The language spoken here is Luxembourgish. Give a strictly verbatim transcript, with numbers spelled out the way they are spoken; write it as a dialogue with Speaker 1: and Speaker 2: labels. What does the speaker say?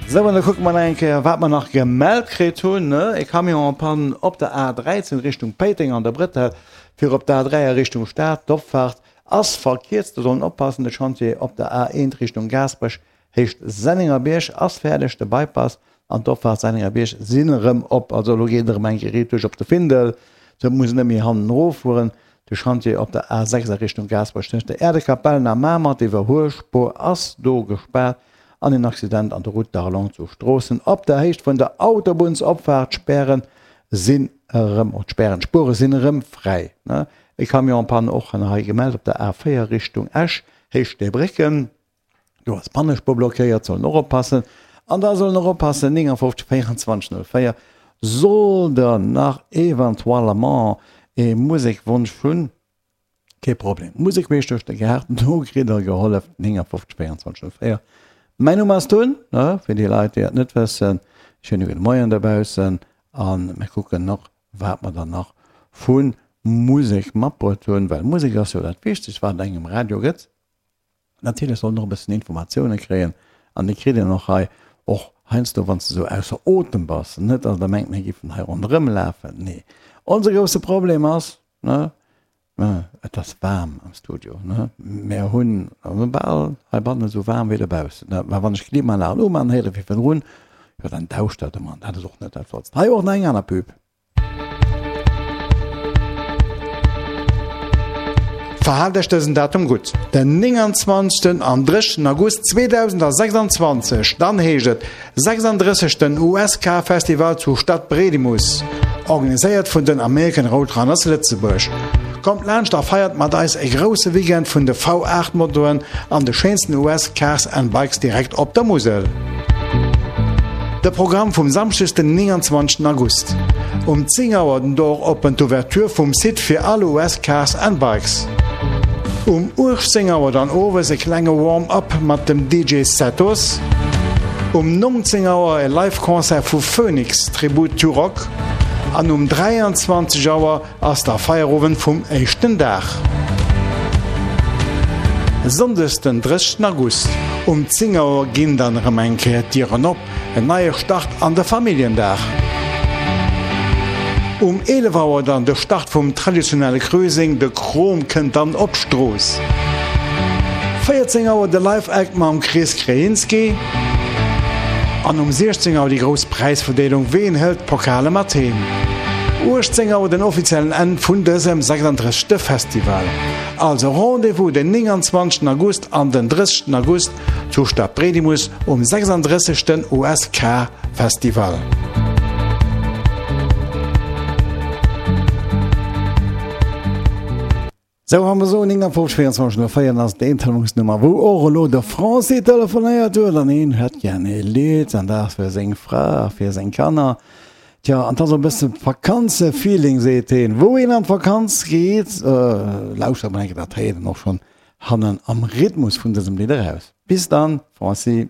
Speaker 1: Sou, an da kucke mer nach eng Kéier, wat mer nach gemellt kritt hunn. E Camion en panne op der A dräizéng Richtung Péiteng an der Bretelle fir op d'A dräi a Richtung Stad. D'Opfaart ass verkierzt, do soll een oppassen. De Chantier op der A eent Richtung Gaasperech Héicht Sennengerbierg ass fäerdeg, de Bypass an d'Opfaart Sennengerbierg sinn erëm op. Also elo geet et erëm eng Kéier riit duerch op de Findel, sou muss een net méi hannen erof fueren. De Chantier op der A sechs a Richtung Gaasperech tëscht der Äerdekapellen a Mamer, d'Iwwerhuelspuer ass do gespaart an een Accident an der Route d'Arlon zu Stroossen op der Héicht vun der Autobunnsopfaart. D'Spären sinn erëm, oh d'Spären, d'Spuere sinn erëm fräi. E Camion en panne och hei gemellt op der A véier Richtung Esch, Héicht Steebrécken. Do ass d'Pannespuer blockéiert, sollen och oppassen. An da sollen och oppassen, neunundfünfzig vierundzwanzig null vier, sollt der nach eventuellement ee Musekwonsch hunn, kee Problem. Musek queesch duerch de Gaart, do kritt der gehollef, neunundfünfzig vierundzwanzig null vier. Mäin Numm ass Tun, ne, fir déi Leit, déi et net wëssen. Schéine gudde Moien dobaussen a mir kucken och, wat mer dann nach vu Musek matbruet hunn, well Musek ass jo dat Wichtegst, wat et engem Radio gëtt. Natierlech soll en och e bëssen Informatioune kréien an déi kritt een och hei, och heiansdo wann s de esou ausser Otem bass. Net datt der mengt mir giffen hei ronderëm lafen, nee. Onse grousse Problem ass, ne, et ass waarm am Studio, ne, mir hunn bal heibannen esou waarm wéi dobaussen, ne, mä wann ech d'Klimaanlag uman, héiere fir virdrun, jo dann dauscht dat ëmmer an dat ass och net dat Flottst. Hei och nach eng aner Pub.
Speaker 2: Verhaalt Iech dësen Datum gutt, den nénganzwanzegsten an drëssigsten August zweedausendsechsanzwanzeg, dann heescht et sechsanddrëssegsten U S K Festival zu Stadbredimus, organiséiert vun den American Roadrunners Lëtzebuerg. Kommt laanscht a feiert mat eis e grousse Weekend vun de V aacht Motoen an de schéinsten U S Cars and Bikes direkt op der Musel. De Programm vum Samschdeg den nénganzwanzegsten August. Um zéng Auer den Door open, d'Ouverture vum Site fir all U S Cars and Bikes. Um uechtzéng Auer dann owes e klenge Warm-up mat dem D J Setos. Um nonzéng Auer e Live-Concert vu Phoenix, Tribute to Rock. An um dräianzwanzeg Auer ass da Feierowend vum éischten Dag. Sonndes den drëssigsten August um zéng Auer ginn dann erëm eng Kéier d'Dieren op, en neie Start an de Familljendag. Um eelef Auer dann de Start vum traditionelle Cruising, de Krom kënnt dann op d'Strooss. Véierzéng Auer de Live Act mam Chris Krejinski an um siechzéng Auer déi grouss Präisverdeelung, ween hëlt d'Pokale mat heem? Uechtzéng Auer den offiziellen Enn vun dësem sechsanddrëssegste Festival. Also Rendez-vous den nénganzwanzegsten August an den drëssigsten August zu Stadbredimus um sechsanddrëssigsten U S K Festival.
Speaker 1: Sou, wa mer soen nénganfünfzeg vierundzwanzeg null véier, dann ass et déi Telefonsnummer, wou och elo de Francis telefonéiert huet an hien hätt gär ee Lidd an dat fir seng Fra a fir seng Kanner. Tja, an 't ass och e bësse Vakanzefeeling, seet hien. Wou een an d'Vakanz geet, lauschtert mer eng Kéier, dat héiert een och schonn hannen am Rhythmus vun dësem Lidd eraus. Bis dann, Francis.